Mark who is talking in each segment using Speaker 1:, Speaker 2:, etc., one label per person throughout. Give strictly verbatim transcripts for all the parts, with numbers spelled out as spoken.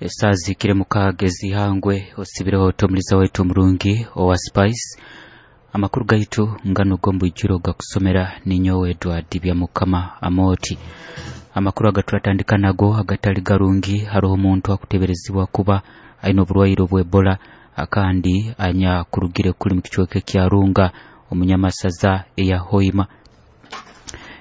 Speaker 1: Esaaha zihikire mukaaga ez'ihangwe. Osibireho otomuliza waitu omurungi owa Spice. Amakuru gaitu ngano g'omubwijuro gakusomera ninyowe Edward Byamukama Amoti. Amakuru agaturatandika nago agatali garungi, haroho omuntu akuteberezibwa kuba aine oburwaire obw'Ebola akandi anyakurugire kuli mu kicweka ekya Runga omunyamasaza eya Hoima.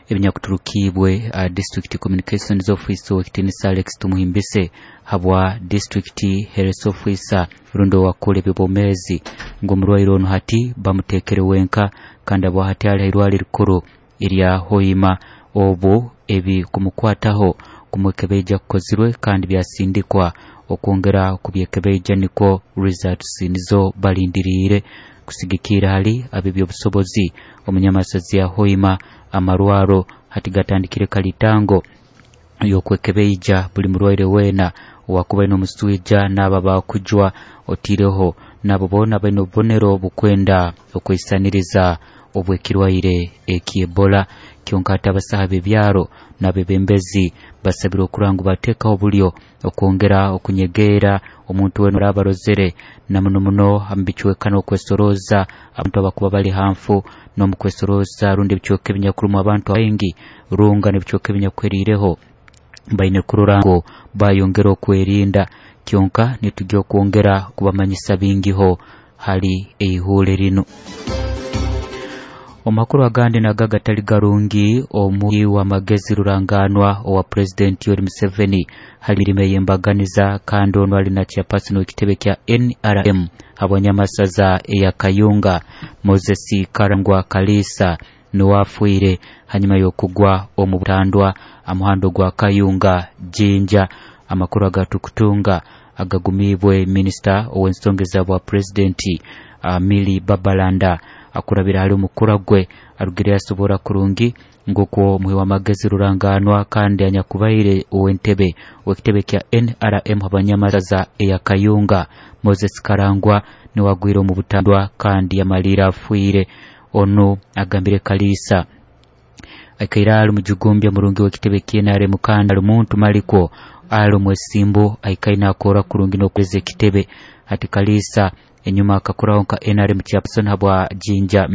Speaker 1: Ebinyakuturukibwe uh, District Communications Officer owekitinisa Alex Tumuhimbise habwa District Health Officer rundi owakura ebyobwomeezi ngu omurwaire onu hati bamuteekere wenka kandi abwa hati ali hairwaro erikuru erya Hoima. Obu ebi kumukwataho kumwekebeija kukozirwe kandi byasindikwa okwongera kubyekebeija, nikwo results nizo balindiriire kusigikira hali ab'ebyobusobozi omunyamasazi ya Hoima. Amarwaro hati gatandikire kalitango y'okwekebeija buli murwaire weena owakuba aine omuswija n'abo abakujwa, otiireho nabo boona baine obubonero bukwenda okweisaniriza obw'ekirwaire eky'Ebola. Kyonka hati abasaha b'ebyaro n'abebembezi basabirwe okurora ngu bateekaho obulyo okwongera okunyegeera omuntu weena oraaba arozere, na muno muno omu bicweka n'okwesorooza abantu abakuba bali hanfu n'omukwesoroza rundi ebicweka ebinyakurumu abantu baingi. Runga n'ebicweka ebinyakuheriireho baine kurora ngu bayongera okwerinda. Kyonka nitujja okwongera kubamanyisa bingiho hali eihuure rinu. Omu makuru agandi nago agatali garungi, omuhi w'amagezi ruranganwa owa Pulezidenti Yoweri Museveni hali mirimo ey'embaganiza kandi onu ali na chairperson w'ekitebe kya N R M habwanyamasaza eya Kayunga, Moses Karangwa Kaliisa, nuwe afiire hanyuma y'okugwa omu butandwa amuhando gwa Kayunga Jinja. Amakuru agatukutunga agagumiibwe minisita ow'ensonga eza bwa pulezidenti uh, Milly Babalanda akurabira hali omukura gwe arugire yasobora kurungi ng'okwo omuhi w'amagezi ruranganwa kandi anyakubaire ow'entebe ow'ekitebe kya N R M habanyamasaza eya Kayunga, Moses Karangwa, niwe agwire omu butandwa kandi yamaliire afiire. Onu agambire Kaliisa aikaire ali mujugumbya murungi w'ekitebe kya N R M kandi ali muntu malikwo ali omwesimbu aikaire nakora kurungi n'okweza ekitebe. Hati Kaliisa enyuma akakuraho nka N R M chairperson habwa Jinja.